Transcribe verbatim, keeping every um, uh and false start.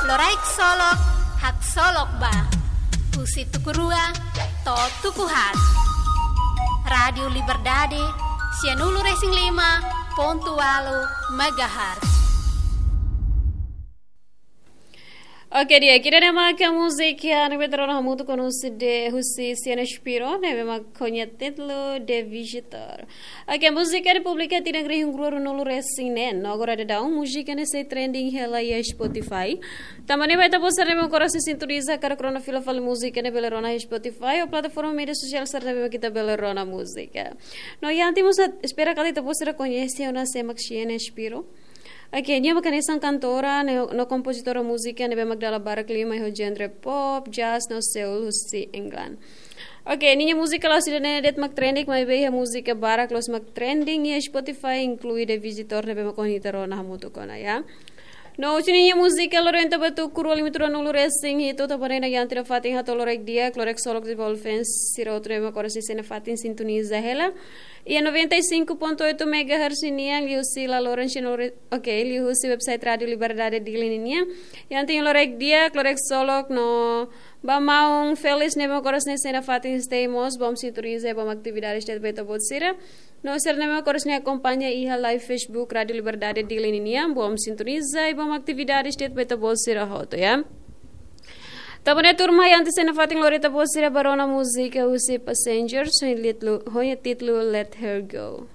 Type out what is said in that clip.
Loraik Solok, Haksolok Ba. Husi tuku rua to'o tuku haat. Rádiu Liberdade, sianulu-resin-lima pontu ualu megahertz. Oke, di'ak, ida-ne'e maka múzika ne'ebé ita rona hamutuk ona husi de, husi Siena Spiro, ne'ebé mak ho nia títulu The Visitor. Oke, múzika ne'e publika tinan rihun rua ruanulu-resin-neen, no agora daudaun múzika ne'e sei trending hela iha Spotify. Tanba ne'e ba ita-boot sira ne'ebé mak oras ne'e sintoniza, karik rona fila fali múzika ne'e bele rona iha Spotify ou plataforma média sosiál sira ne'ebé mak ita bele rona múzika. No iha ita-boot sira, espera katak ita-boot sira koñese ona sé mak Siena Spiro. Oke, nia mak hanesan kantora, no, no kompozitora múzika ne'ebé mak dala barak liman iha genre pop, jazz, no soul husi England. Oke, ninia múzika la'ós ida-ne'e de'it mak trending, maibé iha múzika barak loos mak trending iha Spotify, inklui The Visitor ne'ebé mak ohin ita rona hamutuk ona, ya. No, husi ninia múzika loron ida ba tuku rua lima ruanulu-resin-hitu, tanba ne'e iha ita-nia fatin hato'o Loraik Di'ak, Loraik Solok, de'it ba fans sira hotu ne'ebé mak oras ne'e sei iha fatin sintoniza hela. Iha noventa e cinco ponto oito megahertz ninian, liuhusi la loron sino re-, oke, liuhusi website Rádiu Liberdade Dili ninian. Iha ita-nia Loraik Di'ak, Loraik Solok no ba maun Felix ne'ebé mak oras ne'e sei iha fatin stay mós, bom sintoniza, bom atividades de'it ba ita-boot sira. No sira ne'ebé mak oras ne'e akompaña iha live Facebook Rádiu Liberdade Dili ninian, bom sintoniza, bom atividades de'it ba ita-boot sira hotu, ya. Tanba ne'e turma, iha ita-nia fatin loron ida ita-boot sira ba rona múzika husi Passengers, ho nia títulu, ho nia títulu Let Her Go.